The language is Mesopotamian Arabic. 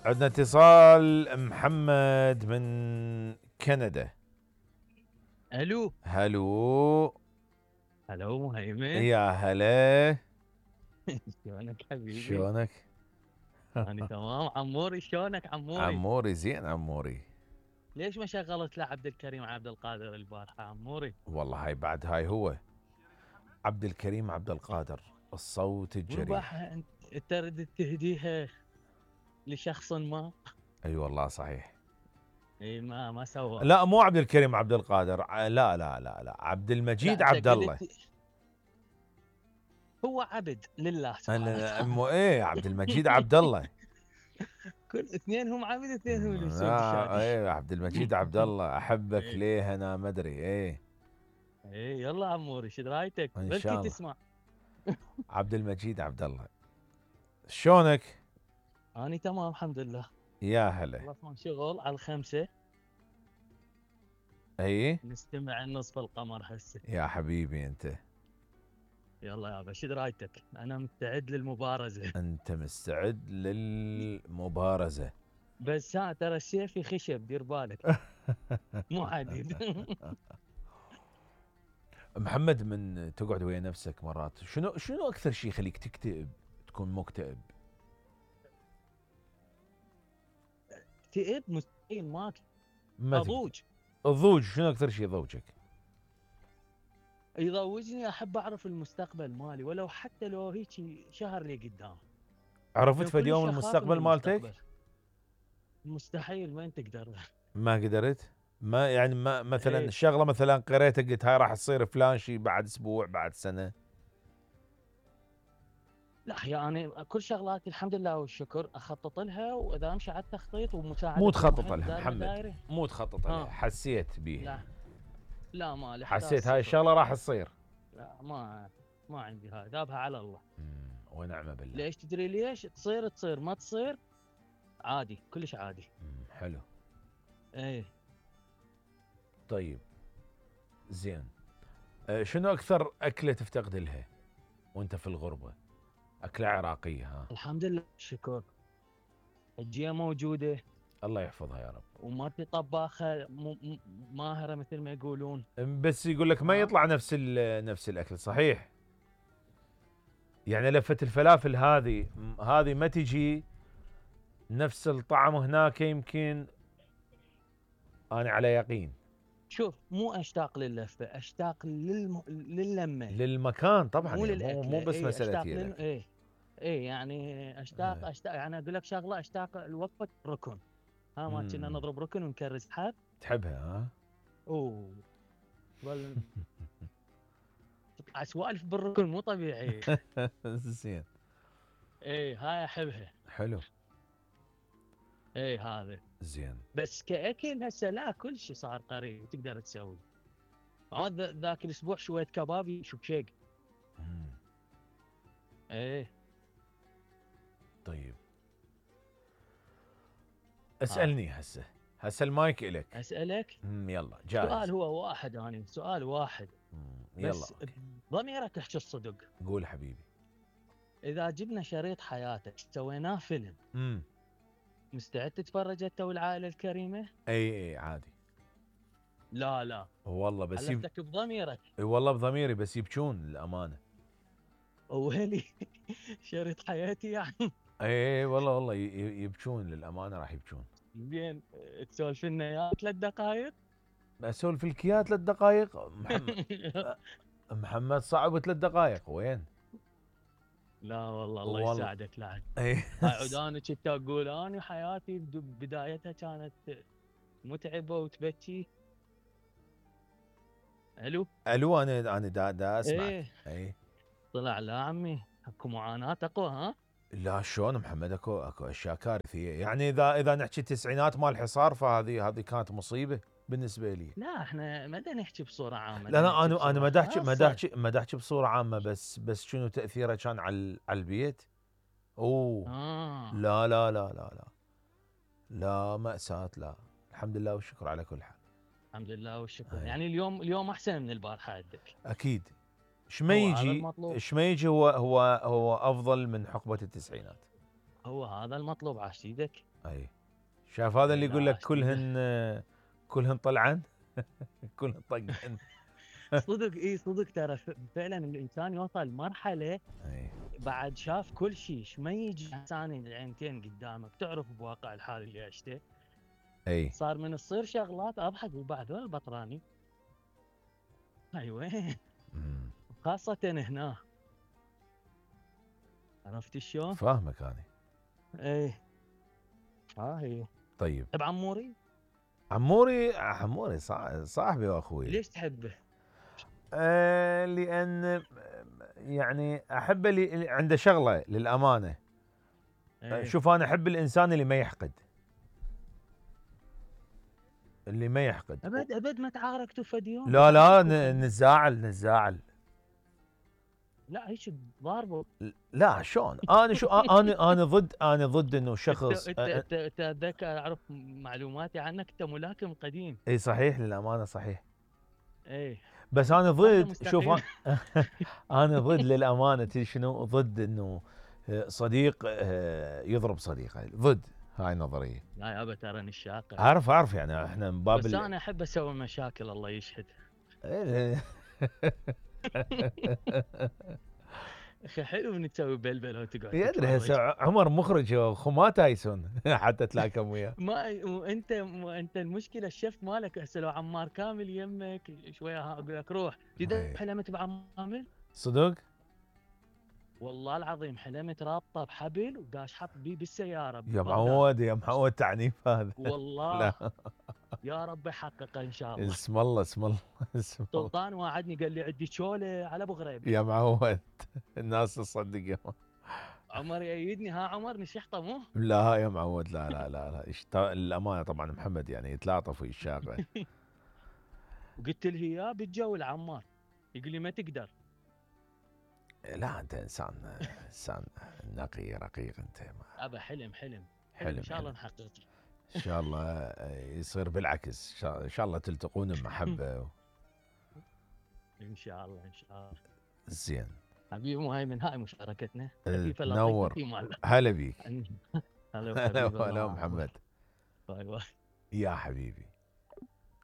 عندنا اتصال محمد من كندا. الو هلو. هلو مهيمن. يا هلا. شلونك حبيبي؟ شلونك؟ انا تمام عموري، شلونك عموري؟ عموري زين عموري. ليش ما شغلت له عبد الكريم عبد القادر البارحه عموري؟ والله هاي بعد هاي هو عبد الكريم عبد القادر الصوت الجريح. والبارحه انت تريد تهديها لشخص ما. اي والله صحيح. اي ما سوى. لا مو عبد الكريم عبد القادر، لا لا لا لا، عبد المجيد لا عبد الله. هو عبد لله سبحانه وتعالى. ايه عبد المجيد عبد الله. كل اثنين هم عبد، اثنين هم اللي يسوون لا الشادي. ايه عبد المجيد عبد الله، احبك إيه. ليه انا ما ادري. ايه يلا عموري شو رايتك؟ ان بلكي شاء الله. تسمع. عبد المجيد عبد الله، شلونك؟ اني تمام الحمد لله. يا هلا. خلصنا شغل على 5. اي نستمع النصف القمر هسه. يا حبيبي انت. يلا يابا شو رايتك؟ انا مستعد للمبارزه. انت مستعد للمبارزة؟ بس ها ترى السيف خشب دير بالك. مو حديد. محمد، من تقعد ويا نفسك مرات شنو اكثر شيء يخليك تكتئب، تكون مكتئب؟ اكتئب مستحيل ما ما اضوج. الضوج، شنو اكثر شيء يضوجك؟ يضوجني احب اعرف المستقبل مالي، ولو حتى لو هيك شهر لي قدام. عرفت لو في اليوم كلش أخاف المستقبل من مالتك؟ المستقبل. مستحيل، وين تقدر. ما قدرت؟ ما يعني ما مثلا إيه. الشغله مثلا قريتها قلت هاي راح تصير فلان شيء بعد اسبوع بعد سنه؟ لا يعني كل شغلاتي الحمد لله والشكر اخطط لها، واذا امشي على التخطيط ومساعده مو تخطط المحيط لها دائما محمد، دايري. مو تخطط لها، حسيت بيها. لا ما حسيت هاي الشغله راح تصير. لا ما عندي هاي، ذابها على الله. ونعم بالله. ليش تدري ليش؟ تصير ما تصير عادي، كلش عادي. حلو. ايه. طيب زين. شنو اكثر اكله تفتقد لها وانت في الغربه؟ اكله عراقيه ها؟ الحمد لله شكر. الجيه موجوده. الله يحفظها يا رب. وما في طباخه ماهره مثل ما يقولون. بس يقول لك ما يطلع نفس الاكل، صحيح؟ يعني لفه الفلافل هذه ما تجي نفس الطعم هناك، يمكن انا على يقين. شوف مو اشتاق لللفه، اشتاق للمه، للمكان طبعا، مو يعني مو بس إيه مساله اشتاق ايه. ايه يعني اشتاق يعني اقول لك شغله، اشتاق لوقفه ركن. ما كنا نضرب ركن ونكرز حب. تحبها ها؟ اوه تطلع سوالف بالركن مو طبيعي. زين. ايه هاي احبها. حلو. ايه هذا زين. بس كاكل هسه لا، كل شيء صار قريب تقدر تسوي. ذاك الاسبوع شويه كبابي شبشيق. ايه. طيب اسالني هسه المايك الك. اسالك. يلا جاهز. سؤال هو واحد، سؤال واحد. يلا بس ضميرك احكي الصدق. قول حبيبي. اذا جبنا شريط حياتك سويناه فيلم، مستعد تتفرج انت والعائله الكريمه؟ اي عادي. لا والله بس حلفتك بضميرك. اي والله بضميري، بس يبكون للامانه. ويلي. شريط حياتي يعني. اي والله يبكون للامانه، راح يبكون. زين تسولف لنا يا 3 دقائق. اسولف لك اياها 3 دقائق محمد صعب 3 دقائق وين؟ لا والله الله يساعدك. لا هاي عداني كنت اقول اني حياتي بدايتها كانت متعبه وتبكي. الو انا دا اسمعك. ايه. طلع لا عمي اكو معاناه اقوى ها؟ لا شلون محمد، اكو اشياء كارثيه، يعني اذا نحكي التسعينات مال الحصار فهذه كانت مصيبه بالنسبه لي. لا احنا ما نحكي بصوره عامه. لا انا ما احكي بصوره عامه، بس شنو تاثيره كان على البيت. لا لا لا لا لا لا مأساة. لا الحمد لله والشكر على كل حال. الحمد لله والشكر. يعني اليوم احسن من البارحه عندك اكيد. ايش ما يجي هو افضل من حقبه التسعينات. هو هذا المطلوب عاشيدك. اي شاف هذا اللي لا يقول لك عاشيدك. كلهن طلعن كلهن طقن. صدق اي صدق ترى فعلا الانسان يوصل لمرحله اي بعد شاف كل شيء، ما يجي ثاني العينتين قدامك تعرف بواقع الحال اللي عشته. اي صار من تصير شغلات اضحك وبعد وين البطراني. اي وين. خاصة هنا. عرفت شلون؟ فاهمك انا. ايه هي. طيب تحب عموري؟ عموري صاحبي واخوي. ليش تحبه؟ لان يعني احبه اللي عنده شغله للامانه. ايه. شوف انا احب الانسان اللي ما يحقد. اللي ما يحقد. ابد ما تعاركتوا فد يوم؟ لا نتزاعل. لا هيك ضاربه. لا شلون انا شو انا ضد انه شخص. انت اتذكر اعرف معلوماتي عنك، انت ملاكم قديم. اي صحيح للامانه صحيح. ايه بس انا ضد شوف مستقيم. انا ضد للامانه تدري شنو ضد انه صديق يضرب صديقه ضد هاي النظريه. لا يابا ترى الشاقة. اعرف يعني احنا من باب بس انا احب اسوي مشاكل الله يشهد. اخي حلو من تسوي بلبل وتقعد يدري هسه عمر مخرج اخو ما تايسون حتى تلاكم وياه. ما انت المشكله الشيف مالك هسه لو عمار كامل يمك شويه اقول لك روح جد حلمت بعمامل صدق والله العظيم حلمت رابطه بحبل وداش حط بيه بالسياره يا معود تعنيف هذا والله. لا. يا رب يحققه ان شاء الله. اسم الله سلطان وعدني قال لي عندي شوله على ابو غريب. يا معود الناس تصدق عمر يأيدني. ها عمر نشحطه مو؟ لا يا معود لا الامانه طبعا محمد يعني يتلاطف ويشاغل. وقلت له اياه بالجو عمار يقول لي ما تقدر. لا انت انسان نقي رقيق انت. ابا حلم ان شاء الله نحققه. ان شاء الله يصير بالعكس ان شاء الله تلتقون بمحبه ان شاء الله زين حبيبي مهيمن. هاي مشاركتنا تنور. هلا بيك. هلا محمد. باي باي يا حبيبي.